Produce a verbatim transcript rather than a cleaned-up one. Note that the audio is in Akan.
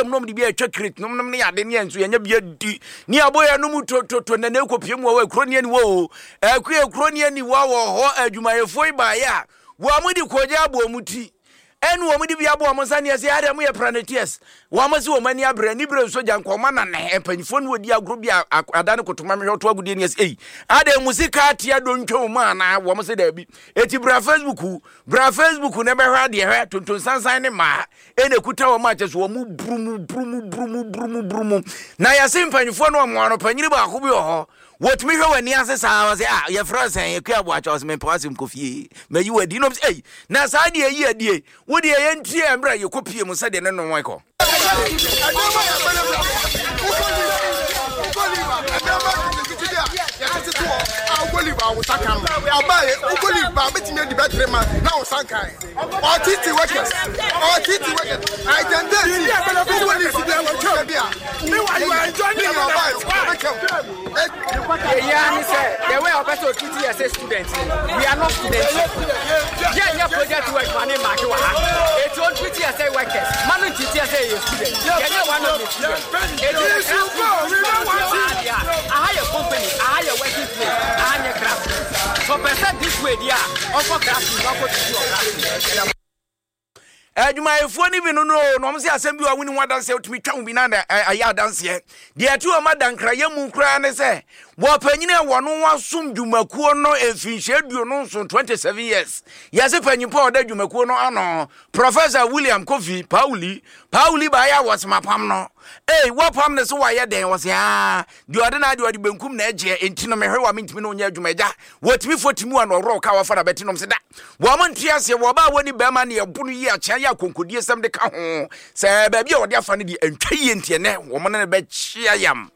mu na ɔmde bi atwa crate nom nom ne ade ne yɛn nso yɛnyɛ bi adi ne abɔ yɛn no mu tototo na na ɛkɔpie mu wɔ hɔ ekuro ne ani wɔ o ɛkue ekuro ne ani wɔ wɔ hɔ. Adwumayɛfoɔ yi baeɛ a, wɔn mo de kɔgya abɔ wɔn ti ɛne wɔn de bi abɔ wɔn nsa ne ɛsɛ adeɛ mo yɛ planeteers. Wɔn mo sɛ wɔn ani abere ani bere nso gya nkɔma nane mpanyinfoɔ no wɔdi agorɔ bi a ada ne kotoma mehwɛ ɔto agodie ne ɛsɛ eyi adeɛ mo sika atea do ntwa wɔn anaa? Wɔn sɛ daabi. Eti bra Facebook, bra Facebook na ɛbɛhwɛ adeɛ. Hwɛ tonton sansan ne mmaa ɛna ekuta wɔn akyɛ so wɔn burumu burumu burumu burumu burumu na yɛse mpanyinfoɔ no wɔn ano panyini baako bi wɔ hɔ, wɔtumi hwɛ w'ani ase saa wɔ sɛ a yɛfrɛ sɛn Akua Aboakyɛ, ɔsɛ mempɛ w'asɛm, kɔ fie mayi w'adi nom sɛ ei na saa deɛ yi adie wo deɛ yɛntie mmerɛ a yɛkɔ pie mu sɛdeɛ ne nom kɔ. Ɔtiti workers, ɔtiti workers àìtẹ̀ntẹ̀ sí wúwo ní ìsìnkú ẹ̀wọ̀n twɛ bi a ní ọba ɔbɛtwam. Yɛyia ne sɛ the way ɔpɛ sɛ ɔtreat yɛ sɛ student, we are not students. Yɛnyɛ project work ma ne maake wɔ ha, eti ɔntreat yɛ sɛ workers ma no ntreat yɛ sɛ yɛyɛ student. Yɛnyɛ one of the student. Eti classroom aha yɛ company, aha yɛ working place, aha nyɛ classroom. So ɔpɛ sɛ this way di a, ɔnkɔ classroom na ɔkɔ tutu wɔ classroom. Adwumayɛfoɔ no bi no no na ɔmo sɛ asɛm bi wɔ woni ho adanseɛ, wotumi twa wo bi na ayɛ adanseɛ. Deɛ ɛte wɔn adankrayɛ mu koraa ne sɛ wɔpanyini a wɔno wasom dwumakuo no mfinhyia aduonu nson, twenty-seven years. Yɛse panyimpa a ɔda dwumakuo no ano, Professor William Kofi Pauli Pauli baayɛ a wɔsema pam no ei wɔpam ne so wayɛ dɛn? Wɔse aa deɛ ɔde no adeɛ ɔde benkum na ɛgyeɛ enti no mehwɛ wa mentumi no onyɛ adwuma agya wɔtumi fo timi a na ɔworɔ ka wɔfa na bɛte nom sɛ da wɔn nte aseɛ. Wɔba a wɔni bɛrima ne ɛbo no yi akyea yɛ akonkodie sɛm de ka ho sɛ baabi a wɔde afa no deɛ ɛntwa yie, nti ɛnɛ wɔn ne no bɛkyea yam.